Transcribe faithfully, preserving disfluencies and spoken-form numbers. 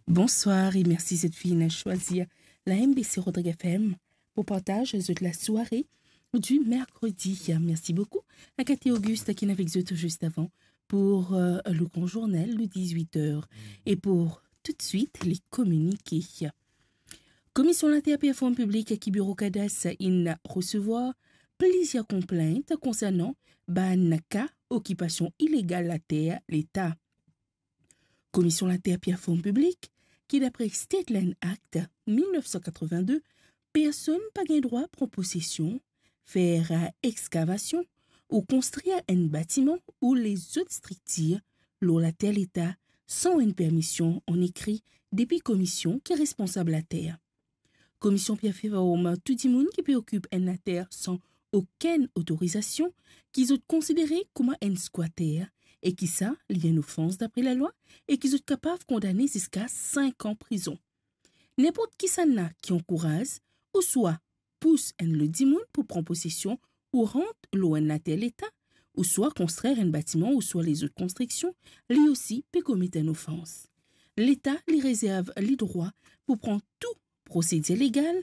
Bonsoir e mersi zot finn swazir la M B C Rodrigues F M pou partaz zot lasware di merkredi. Mersi boukou a Cathy Auguste ki avek zot zis avan pou, euh, le gran journal de dix-huit heures. E pou toutswit, les communiqués. Komision Later Pir Form Piblik ki Biro Kadas inn resevwar plizier konplint konsernan bann ka okipasion ilegal later Leta. Komision Later Pir Form Piblik, ki dapre State Land Act mil nef san katrovin-de, personn pa gagn drwa pran posesion, fer, euh, exkavasion ou konstrir enn batiman ou lezot striktir lor later Leta san enn permision an ekri depi komision ki responsab later. Komision Pir Form tou dimoun ki pe okip enn later san okenn otorizasion, ki zot konsidere kouma enn skwater, e ki sa li enn ofans dapre lalwa, e ki zot kapav kondane ziska sink an prizon. Ninport kisannla ki ankouraz ouswa pous enn lot dimoun pou pran posesion ou rant lor enn later Leta, ouswa konstrir enn batiman ouswa lezot konstriksion, li osi pe komet enn ofans. Leta li rezerv li drwa pou pran tou prosedir legal